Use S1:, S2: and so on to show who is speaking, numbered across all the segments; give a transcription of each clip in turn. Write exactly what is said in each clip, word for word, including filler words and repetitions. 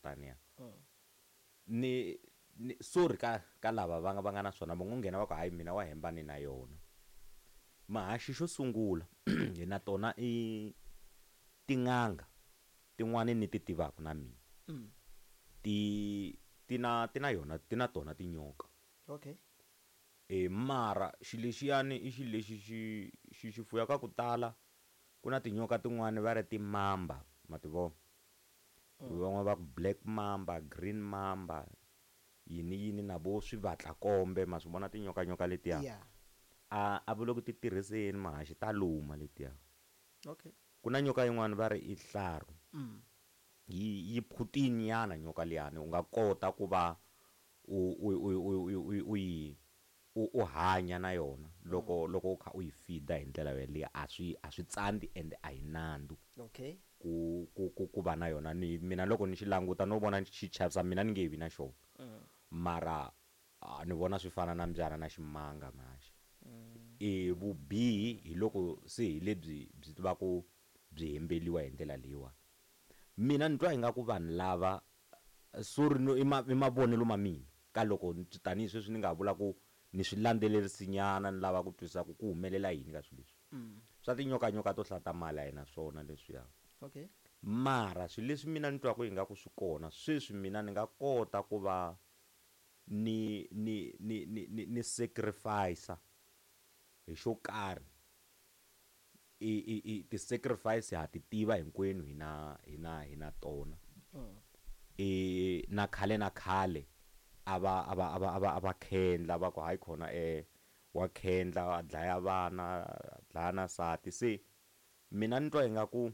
S1: taniya ni ni sorry ka ka lava va nga va nga na swona va ngo nghena va ku hayi mina wa hemba ni na yona mahaxi xo sungula hi na tona i tin'anga tin'wani ni ti tivaka na mina
S2: Mm.
S1: ti ti na ti na yona ti na tona tinyoka
S2: okay
S1: e mara xilo lexiyani i xilo lexi xi xi xi fuyaka ku tala ku na tinyoka tin'wani va ri timamba ma ti vona van'wana va ku black mamba green mamba yini yini na vo swivatlakombe ma swi vona tinyoka nyoka letiya
S2: yeah
S1: a a va le ku ti tirhiseni mahaxi ta luma letiya
S2: okay
S1: ku na nyoka yin'wani va ri i hlaru
S2: mm.
S1: yi yi phutini nyana nyoka liyani u nga kota ku va u u u u u u u yi u u hanya na yona loko loko u kha u yi feeda hi ndlela yeleyo a swi a swi tsandzi ende a hi nandzu
S2: okay
S1: ku ku ku ku va na yona ni mina loko ni xi languta no vona xi chavisa mina ni nge vi na xona
S2: mm.
S1: mara a ni vona swi fana na mbyana na ximanga mahaxi
S2: Mm.
S1: e vubihi hi loko se hi lebyi byi tivaka byi hembeliwa hi ndlela leyiwani mina ni twa ingaku vanhu lava sorry no i ma i mavonelo ma mina ka loko tanihi sweswi ni nga vula ku ni swi landzelerisi nyana ni lava ku twisisa ku ku humelela yini ka swilo leswi
S2: Mm.
S1: swa tinyokanyoka to hlata mali a hi na swona leswiya
S2: okay
S1: mara swilo leswi mina ni twaku ingaku swi kona sweswi mina ni nga kota ku va ni ni ni ni ni, ni sacrifice hi xo karhi i i i ti-sacrifice ha ti tiva hinkwenu hi na hi na hi na tona
S2: mm.
S1: e na khale na khale a va a va a va a va a va khendla va ku hayi khona eh wa khendla a dlaya vana a dlaya na nsati se mina ni twa ingaku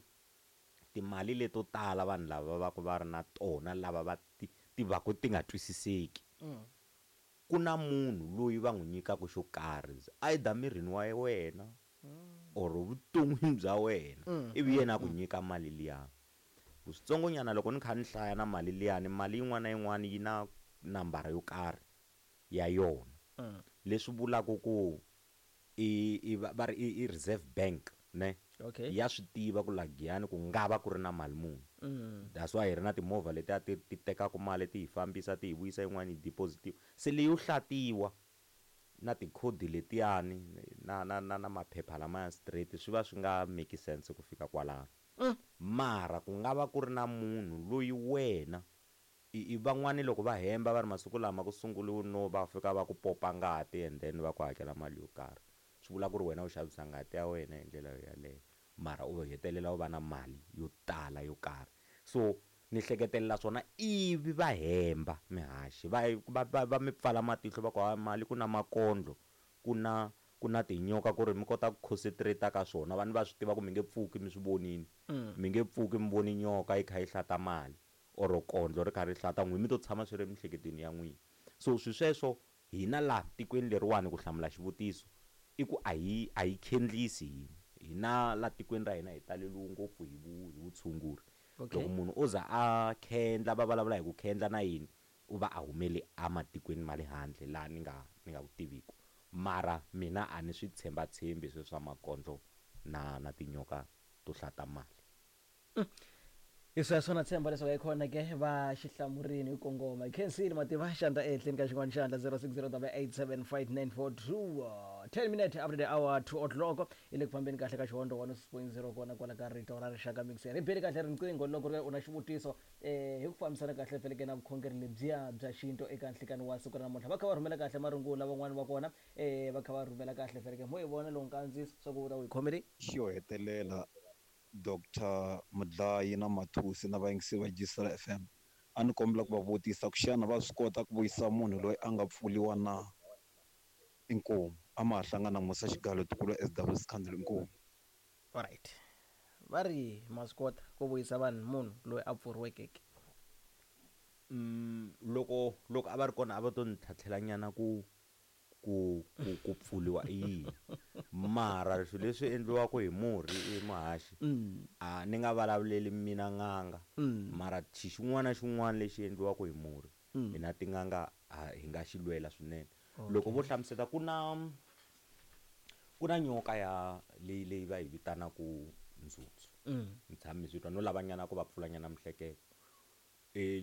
S1: timali leto tala vanhu lava va ku va ri na tona lava va ti ti va ku ti nga twisiseki
S2: Mm.
S1: ku na munhu loyi va n'wi nyikaka xo karhi either mirini wa wena or vuton'wini bya wena
S2: Mm,
S1: ivi yena a ku nyika mali liya ku switsongonyana loko ni kha ni hlaya na mali liyani mali yin'wana na yin'wana yi na nambara yo karhi ya yona
S2: Mm.
S1: leswi vulaka ku i i va va ri i, i reserve bank ne
S2: okay
S1: ya swi tiva ku la Giyani ku nga va ku ri na mali muni
S2: mm.
S1: that's why hi ri na timovha letiya ti ti tekaka mali ti hi fambisa ti hi vuyisa yin'wana yi deposit-iwa se leyo hlatiwa na tikhodi letiyani na na na na maphepha lamaya straight swi va swi nga make sense ku fika kwalano
S2: Mm.
S1: mara ku nga va ku ri na munhu loyi wena i, i van'wani loko va hemba va ri masiku lama ku sunguriwe no va fika va ku popa ngati and then va ku hakela mali yo karhi swi vula ku ri wena u xavisa ngati ya wena hi ndlela yaleyo mara u hetelela u va na mali yo tala yo karhi so ni hleketelela swona ivi va hemba mihaxi va va va, va mi pfala matihlo va ku ha mali ku na makondlo ku na ku na tinyoka ku ri mi kota ku concentrate ka swona vanhu va swi tiva ku mi nge pfuki mi swi vonini
S2: Mm.
S1: mi nge pfuki mi voni nyoka yi kha yi hlata mali or kondlo ri kha ri hlata n'wina mi to tshama swi ri emiehleketweni ya n'wina so swi sweswo hina laha tikweni leriwani ku hlamula xivutiso i ku a hi a hi khendlisi hina hina la tikweni ra hina hi taleliwe ngopfu hi vu hi vutshunguri
S2: Okay.
S1: loko munhu o za a khendla va vulavula hi ku khendla na yini u va a humele ematikweni ma le handle laha ni nga ni nga ku tiviku mara mina a ni swi tshembatshembi sweswo swa makondlo na na tinyoka to hlata mali
S2: Hi sweswo na tshemba leswaku hi kona ke va xihlamurini hi kongoma khensile mativa xandla ehenhleni ka xin'wana xandla zero six zero double eight seven five nine four two ten minute after the hour two o'clock i le ku fambeni kahle ka xihondlo one point zero kona kwala ka rito ra rixaka mixer ri beli kahle riqingho loko ri u na xivutiso um hi ku fambisana kahle feleke na vukhongeri lebyiya bya xintu eka nhlikani wa siku ra namuntlha va kha va rhumela kahle marungula van'wani va kona um va kha va rhumela kahle feleke mo hi vona lowu nkandziyiso swa ku u ta wu hi khomele
S3: xo hetelela Doctor Mudlayi na Mathusi na vayingiseri va Gisela F M a ni kombela ku va vutisa ku xana va swi kota ku vuyisa munhu loyi a nga pfuliwa na inkomu a ma ha hlangana Musa Xigalo tikulu S W Scandal inkomu
S2: alright va ri ma swi kota ku vuyisa vanhu munhu loyi a pfuriweke ke
S1: mm, loko loko a va ri kona a va to ni tlhatlhela nyana ku ku ku ku pfuliwa i yini mara swilo leswi endliwaka hi murhi i muhaxi
S2: Mm.
S1: a ni nga vulavuleli mina n'anga
S2: Mm.
S1: mara xi xin'wana na xin'wana lexi endliwaka hi murhi
S2: Mm.
S1: hina tin'anga a hi nga xi lwela swinene
S2: Okay.
S1: loko vo hlamusela ku na ku na nyoka ya leyi leyi va yi vitanaka ndzutsu
S2: Mm.
S1: ni tshame ni swi twa no lavanyana ku va pfulanyana mihleketo e nyoka